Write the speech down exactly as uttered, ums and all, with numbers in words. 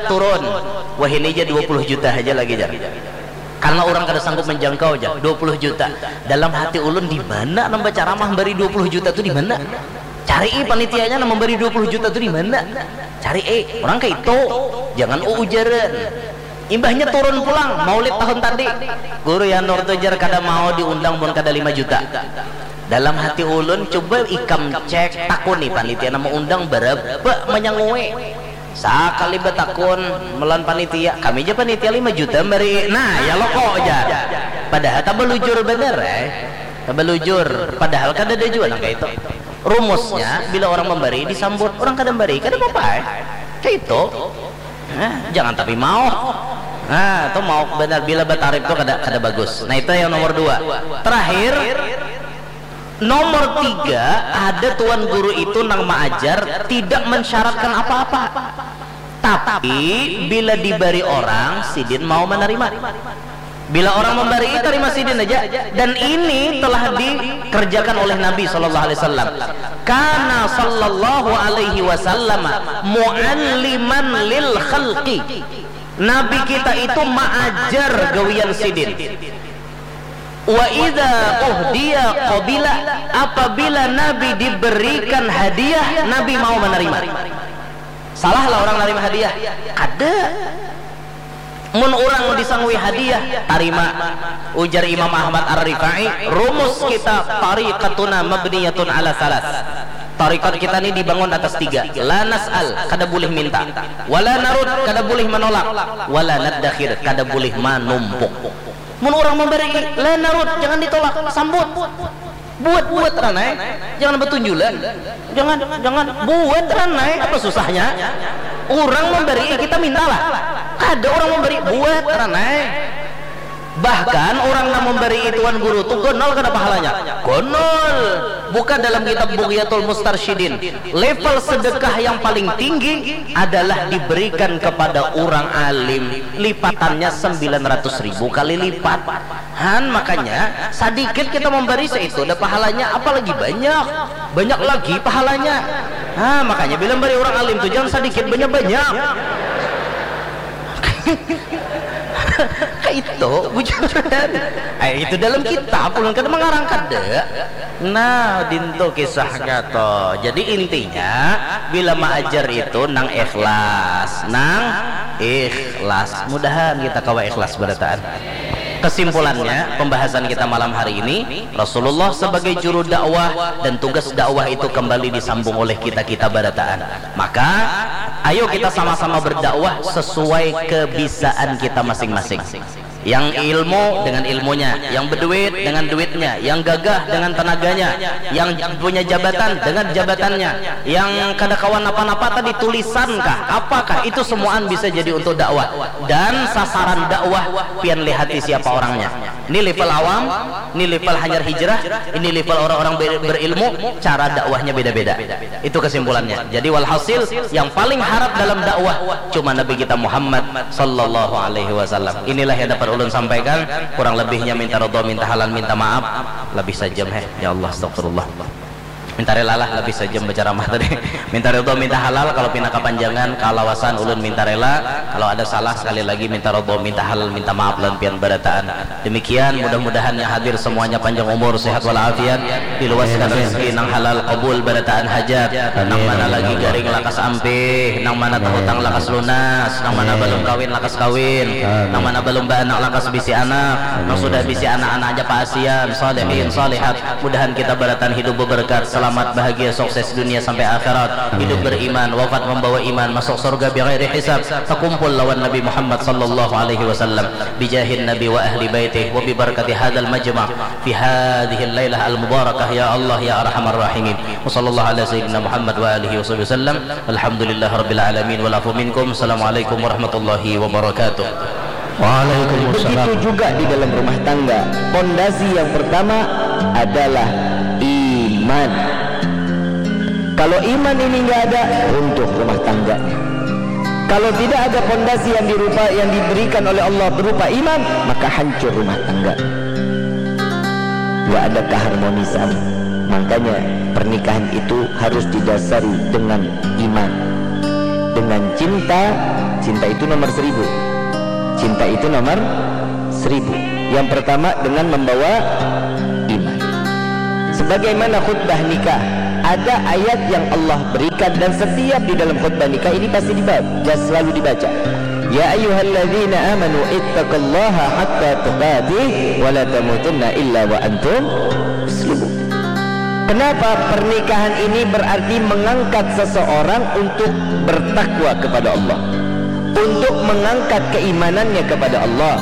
turun, wahini ja dua puluh juta haja lagi jar. Karena orang kada sanggup menjangkau jar, dua puluh juta. Dalam hati ulun, di mana nang bacaramah memberi dua puluh juta tu, di mana? Cari eh panitianya nang memberi dua puluh juta tu di mana? Cari eh, orang kayak itu. Jangan uujaran. Imbahnya turun pulang, maulid tahun tadi. Guru Yanur tu jar kada mau diundang mun kada lima juta. Dalam hati ulun, coba ikam cek, takuni panitia nama undang berapa manyangui. Sakali batakun melawan panitia, kami aja panitia lima juta beri. Nah, ya loko jar. Padahal tabalujur bener eh. Tabalujur. Padahal kada ada jua nang kayak itu. Rumusnya, bila orang memberi disambut, orang kada memberi kada apa-apa eh. Kayak itu. Nah, jangan tapi mau. Nah, itu mau benar, bila batarip tuh kada kada bagus. Nah, itu yang nomor dua. Terakhir, nomor tiga, ada tuan guru itu nang maajar tidak mensyaratkan apa-apa. Tapi bila diberi orang, sidin mau menerima. Bila orang memberi, terima sidin aja. Dan ini telah dikerjakan oleh Nabi sallallahu alaihi wasallam. Kana sallallahu alaihi wasallam mualliman lil khalqi. Nabi kita itu maajar gawian sidin. Wa idza uhdiya qabila, apabila Nabi diberikan hadiah, Nabi mau menerima. Salah lah orang nerima hadiah? Kada. Mun urang disangui hadiah, tarima. Ujar Imam Ahmad Ar-Rifai, rumus kita, tariqatuna mabniyatun ala salas. Tarikat kita ni dibangun atas tiga. La nas'al, kada boleh minta. Wala narud, kada boleh menolak. Wala naddakhir, kada boleh manumpuk. Mun urang memberi, la narud, jangan ditolak, sambut. Buat, buat ranai. Jangan betunjulan. Jangan, jangan. Buat ranai. Apa susahnya? Urang memberi, kita mintalah. Kada urang memberi, buat ranai. Bahkan urang nang memberi tuan guru tu gonol kada pahalanya. Gonol. Buka dalam kitab Bughyatul Mustarsyidin. Level sedekah yang paling tinggi adalah diberikan kepada urang alim. Lipatannya sembilan ratus ribu kali lipat. Han, makanya sadikit kita memberi seitu ada pahalanya, apalagi banyak. Banyak lagi pahalanya. Ha, makanya bila memberi urang alim tu jangan sadikit, banyak-banyak. Kayak itu, bujuran. Eh, itu dalam kitab, ulun kada mangarang kada. Nah, dintu kisah gato. Jadi intinya, bila maajar itu nang ikhlas, nang ikhlas. Mudahan kita kawa ikhlas barataan. Kesimpulannya, pembahasan kita malam hari ini, Rasulullah sebagai juru dakwah dan tugas dakwah itu kembali disambung oleh kita-kita barataan. Maka, ayo kita sama-sama berdakwah sesuai kebisaan kita masing-masing. Yang ilmu dengan ilmunya, yang berduit dengan duitnya, yang gagah dengan tenaganya, yang punya jabatan dengan jabatannya, yang kada kawa napa-napa tadi, tulisan kah, apakah, itu semuaan bisa jadi untuk dakwah. Dan sasaran dakwah pian lihati siapa orangnya. Ini level awam, ini level hanyar hijrah, ini level orang-orang ber- berilmu, cara dakwahnya beda-beda. Itu kesimpulannya. Jadi walhasil, yang paling harat dalam dakwah cuma Nabi kita Muhammad sallallahu alaihi wasallam. Inilah yang dapat ulun sampaikan. Kurang lebihnya minta ridha, minta halal, minta maaf. Lebih sajam heh. Ya Allah, astagfirullah. Minta rela lah, lebih sajam berceramah tadi. Minta ridha, minta halal, kalau pina kapanjangan, kalawasan ulun minta rela. Kalau ada salah, sekali lagi minta ridha, minta halal, minta maaf lawan pian barataan. Demikian, mudah-mudahan yang hadir semuanya panjang umur, sehat walafiat, diluaskan rezeki nang halal, kabul barataan hajat, nang mana lagi garing lakas ampih, nang mana tahutang lakas lunas, nang mana balum kawin lakas kawin, nang mana balum baanak lakas bisi anak, nang sudah bisi anak, anak aja paasian, salihin, salihat. Mudahan kita barataan hidup beberkat, selamat, bahagia, sukses dunia sampai akhirat, hidup beriman, wafat membawa iman, masuk surga bighairi hisab, takumpul lawan Nabi Muhammad sallallahu alaihi wasallam, bijahin Nabi wa ahli baitih, wa bibarakati hadzal majma' fi hadzihil lailah al mubarakah, ya Allah ya arhamar rahimin. Wa sallallahu ala sayyidina Muhammad wa alihi wa sahbihi wasallam. Alhamdulillah rabbil alamin, wal afu minkum. Assalamualaikum warahmatullahi wabarakatuh. Waalaikumsalam. Begitu juga di dalam rumah tangga. Pondasi yang pertama adalah iman. Kalau iman ini nggak ada, runtuh rumah tangganya. Kalau tidak ada pondasi yang dirupa yang diberikan oleh Allah berupa iman, maka hancur rumah tangga. Nggak ada keharmonisan. Makanya pernikahan itu harus didasari dengan iman. dengan cinta. Cinta itu nomor seribu. Cinta itu nomor seribu. Yang pertama dengan membawa iman. Sebagaimana khutbah nikah, ada ayat yang Allah berikan dan setiap di dalam khutbah nikah ini pasti dibaca, selalu dibaca. Ya ayyuhalladzina amanu ittaqullaha haqqa tuqatih wa la tamutunna illa wa antum muslimun. Kenapa pernikahan ini berarti mengangkat seseorang untuk bertakwa kepada Allah, untuk mengangkat keimanannya kepada Allah?